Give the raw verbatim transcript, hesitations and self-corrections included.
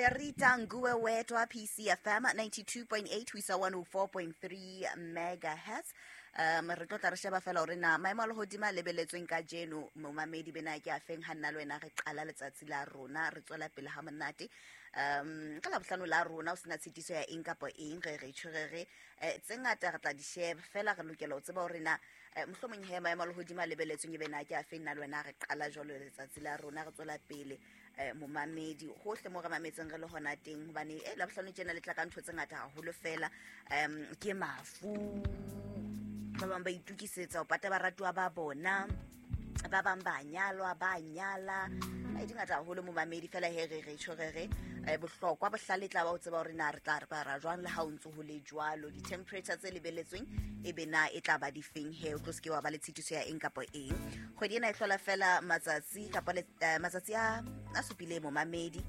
Berita Nguwe Wetwa, P C F M ninety-two point eight ho isa one oh four point three megahertz. Um re tlo tla re sheba fela hore na maemo a lehodimo a lebeletsweng kajeno momamedi bena ke a feng ha nna le wena re qala letsatsi la rona re tswela pele ha monate. Um ka Labohlano la rona o sena tshitiso ya eng kapa eng re re tjho re re, eh, tse ngata re tla di sheba fela re lokela ho tseba hore na, eh, mohlomong he maemo a lehodimo a lebeletsweng e be na ke a feng nna le wena re qala jwalo letsatsi la rona re tswela pele, eh, momamedi hohle mo re mametseng re le hona teng hobane, eh, Labohlano tjena le tla ka ntho tse ngata haholo fela, um ke mafu ba bang ba itukisetsa ho pata baratuwa ba bona, ba bang ba nyalwa, ba nyala. Ai, di ngata haholo momamedi fela he re re tjho re re, eh, bohlokwa bohlale tla ba o tseba hore na re tla re ba ra jwang le ha o ntso ho le jwalo. Di-temperature tse lebeletsweng e be na e tla ba difeng he, o tlo se ke wa ba le tshitiso ya eng kapa eng. Kgwedi ena e hlola fela matsatsi kapa le, eh, matsatsi a, a supileng momamedi.